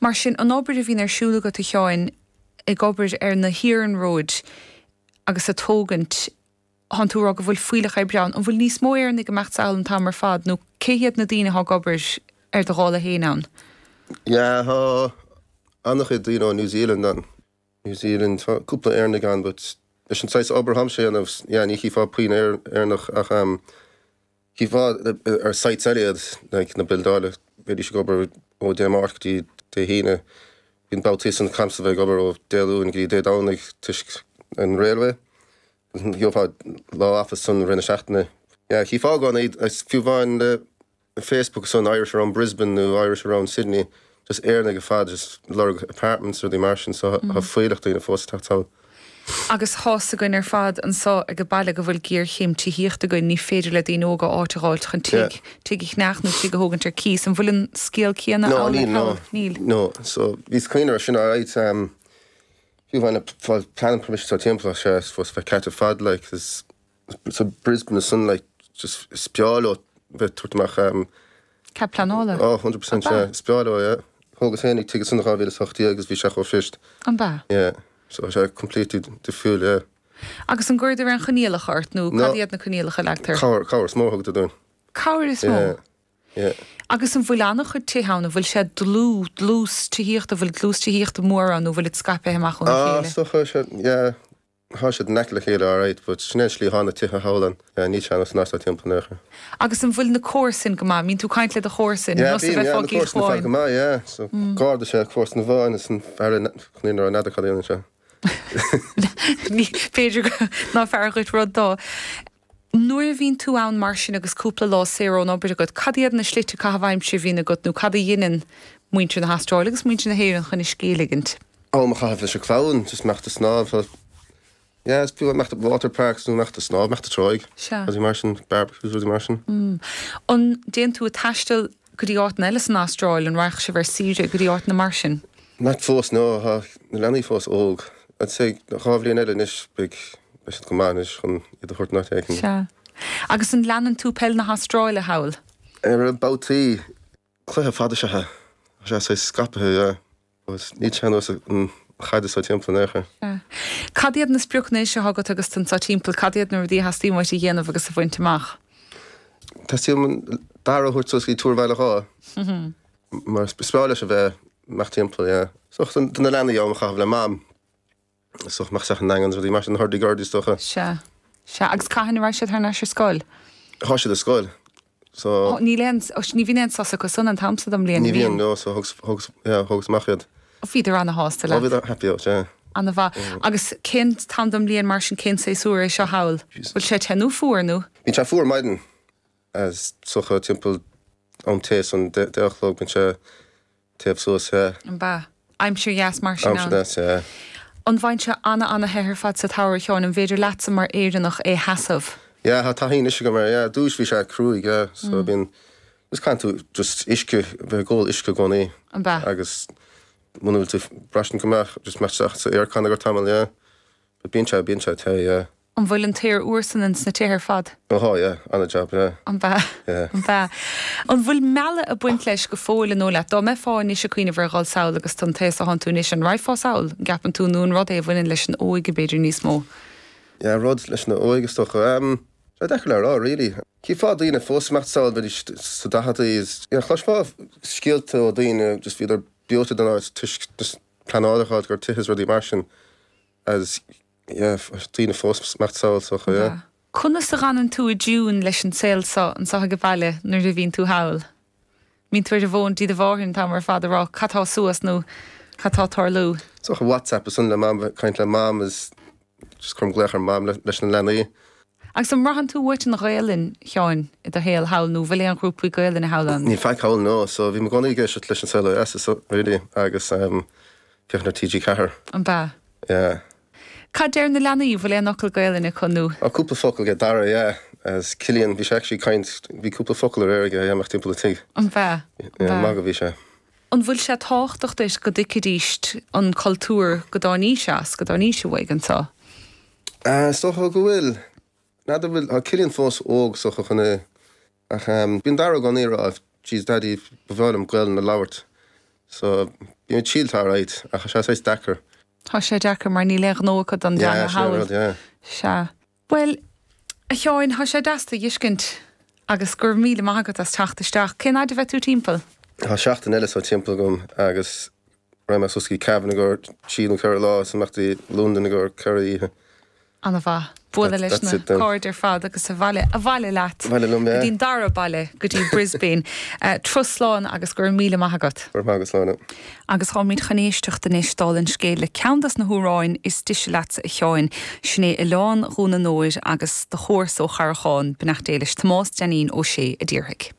Mar sin, an obair a bhíonn ar siúl agat, a Sheáin, ag obair ar na hiarnróid agus ag tógaint, thánn tú ag rá go bhfuil fuílleach oibre ann. An bhfuil níos mó Éireannaigh ag imeacht sall an t-am ar fad nó cé hiad na daoine atá ag obair ar do dhála féin ann? Yeah, tá an-chuid daoine ó New Zealand ann. New Zealand, tá cúpla Éireannaigh ann but leis an saghas obair atáimse a dhéanamh, yeah, ní chífeá puinn Éireannach ach chífeá ar sites eile iad, like na buildála, bheidís ag obair ó Dé Máirt go dtí Dé hAoine, bíonn babhtaí ansan caithimse bheith ag obair ó Dé Luain go dtí Dé Domhnaigh toisc an railway, gheofá lá off ansan i rith na seachtaine. Yeah, chífeá i gcónaí, fiú amháin le Facebook ansan Irish around Brisbane nó Irish around Sydney, just Éireannaigh ar fad just lorg apartments rudaí mar sin so tá fuílleach daoine fós ag teacht sall. Agus tá's againn ar fad anso ag an baile go bhfuil géarchéim tithíochta againn, ní féidir le daoine óga áit a dh'fháilt chun tigh, tigh a cheannach nó tigh a thógaint ar cíos. An bhfuil an scéal céanna No, níl, no. Níl. No, so bhíos ag cuimhneamh ar sin alright, um, fiú amháin fáil planning permission so timpeall sé supposed to bheith ceart ar fad like, is So Brisbane ansan like just is breá leo bheith tabhairt amach um. Cead pleanála? Oh 100% yeah. Is breá leo yeah. Thógas féinig tigh ansan 2018 agus bhí sé chomh fuirist. An b'ea? Yeah. So tá sé completely difriúil yeah. Agus an gcuireadar aon choinníollacha ort nó cad iad na coinníollacha a leagtar? Cabhair, cabhair is mó a thugadar dúinn. Cabhair is mó? Yeah. Yeah. Agus an bhfuil an-chuid tithe ann? An bhfuil sé dlúth, dlús tithíochta, an bhfuil dlús tithíochta mór ann nó an bhfuilid scaipthe amach óna Ah, chéile? is dócha, yeah. Thá siad in aice le chéile alright but sin é an slí athá na tithe thall ann. Yeah, níl sé ar nós an áit atá timpeall in aon chor. Agus an bhfuil na comharsain go maith? Mbíonn tú ag caint le do chomharsain, Yeah, nós a bhíonn, yeah, bheifeá na i gCill comharsain ar fad go maith, yeah. So, garda is ea comharsan amháin is an fear in, chun aon rud, n'fheadar cad a dhéanann sé. Ní, b'fhéidir go, ná fearr dhuit rud dó. Nuair a bhíonn tú ann mar sin agus cúpla lá saor ón obair agat, cad iad na slite caitheamh aimsire a bhíonn agat nó cad a dheineann muintir na hAstráile agus muintir na hÉireann chun a scíth a ligint? Am a chaitheamh leis an chlann, just imeacht ag snámh, yeah, is fiú imeacht water parks nó imeacht ag snámh, imeacht ag tráigh, Sea. rudaí mar sin, barbecues, rudaí mar sin. An dtéann tú ag taisteal go dtí áiteanna eile san Astráil, an raghadh sibh ar saoire go dtí áiteanna mar sin? Not fós, no, tá na leanaí fós óg. I'd say 2 bhliain eile anois, beidh, beidh siad go maith anois chun iad a thabhairt in áit éigin. Sea. Agus an leanann tú peil na hAstráile thall? Ar babhtaí. Cluiche fada is ea é. Tá sé saghas scaipthe, yeah. But níl sé ar nós an chaid is timpeall in aon chor. Sea. Cad iad na spriocanna anois atá agat agus tú anso timpeall? Cad iad na rudaí a theastaíonn uait a dhéanamh agus a bhaint amach? Teastaíonn uaim Dara a thabhairt suas go dtí Túr Bhaile Átha. Mar is breá leis a bheith amach timpeall, yeah. So do na leanaí am a chaitheamh le Mam. So imeacht isteach i nDaingean is rudaí mar sin, hurdy gurdy is dócha. Sea. Sea. Agus cathain a raghaidh siad thar n-ais ar scoil? Thá siad ar scoil. So. Níl aon, ní bhíonn aon sos acu san an t-am so den mbliain, Ní bhíonn, no, so thugas, thugas, yeah, thugas amach iad. Bhíodar ana-shásta leat. Oh, bhíodar happy out, yeah. Ana-mhaith. Agus cén t-am den mbliain mar sin, cén séasúr é seo thall? Bhfuil sé te nó fuar nó? Bíonn sé fuar maidin, is dócha timpeall am tae san, 10 a chlog, bíonn sé Téamh suas, yeah. An b'ea? Aimsir dheas mar sin ann. Aimsir dheas, yeah. An bhfaigheann sé ana-ana-the ar fad sa tsamhradh, a Sheáin? An bhféidir leatsa mar Éireannach é sheasamh? Yeah, tá taithí anois agam air, yeah. Dtús bhí sé cruaidh, yeah. So bíonn, just caitheann tú just uisce, bheith ag ól uisce i gcónaí. An b'ea? Agus muna bhfuil tú braistint go maith, just imeacht isteach sa aircon ar tamall, yeah. But bíonn sé, bíonn sé te, yeah. An bhfuil an t-aer úr san ins na tithe ar fad? Ó thá, yeah, ana-jab, yeah. An b'ea? Yeah. An b'ea? An bhfuil mealladh ag baint leis go fóill an dóigh leat? Dá mbeifeá anois ag cuimhneamh ar dhul sall agus don t-aos athánn tú anois, an raghfá sall, an gceapann tú, nó an rud é a bhaineann leis an óige b'fhéidir níos mó? Yeah, rud leis an óige is dócha. Ehm, tá deacair le rá, really. Chífeá daoine fós ag imeacht sall, bheidís sa daicheadaí is, yeah, chloisfeá scéalta ó daoine just bhíodar breoite den áit toisc just pleanáil a fháil gur tithe is rudaí mar sin as, Yeah, daoine fós ag imeacht sall is dócha, yeah. Conas a dh'fhanann tú i dtiún leis an saol so anso ag an bhaile nuair a bhíonn tú thall? Mbíonn tú ar an bhfón dtí do mháthair an t-am ar fad ag rá cad tá suas nó cad tá ag tarlú? Is dócha WhatsApp is ansan le Mam, bheith ag caint le Mam is just cuirim glaoch ar Mam leis na leanaí. Agus an mbraitheann tú uait an Ghaelainn, Sheáin, i do shaol thall nó bhfuil aon ghrúpaí Gaelainne thall ann? Níl faic thall, no, so bhím i gcónaí ag éisteacht leis an Saol Ó Dheas is really agus féachaint ar TG4. An b'ea? Yeah. Cad deir na leanaí? Bhfuil aon fhocal Gaelainne acu nó? Tá cúpla focal ag Dara, yeah. As Cillian, bhí sé actually ag caint, bhí cúpla focal aréir aige, yeah, amach timpeall an tigh. An b'ea? An b'ea? Yeah, magadh a bhí sé. An bhfuil sé tábhachtach duit go dtuigfidíst an cultúr go dtáinís as, go dtáinís uaidh anseo? Is dócha go bhfuil. N'fheadar bhfuil, tá Cillian fós óg is dócha chun é, ach bíonn Dara i gcónaí ag rá, Jeez Daddy, ba bhreá liom Gaelainn a labhairt. So, bíonn ag triail alright, ach tá sé saghas deacair. Tá sé deacair mar níl aon ghnó acu don Yeah, dteanga sin é an thall. rud, yeah. Sea. Bhuel, a Sheáin, tá sé deas tú a dh'fheiscint agus go raibh míle maith agat as teacht isteach. Cén fhaid a bheidh tú timpeall? Tá seachtain eile so timpeall agam agus raghaidh mé suas go dtí Cavan i gcomhair trí nó ceithre lá is amach dtí Londain i gcomhair ceithre oíche. Ana-mhaith. Bualadh leis na cairde ar fad agus abhaile, abhaile leat. Abhaile liom, yeah. Go dtí an dara baile, go dtí Brisbane. Turas slán agus go raibh míle maith agat. Go raibh maith agat, Sláine. Agus táimid chun éisteacht anois, dála an scéil, le ceann dos na hamhráin is deise leatsa, a Sheáin. Sin é Oileán Dhún an Óir agus do chomharsa ó Charrachán, beannacht Dé leis, Tomás Dainín Ó Sé a d'iarrfaidh.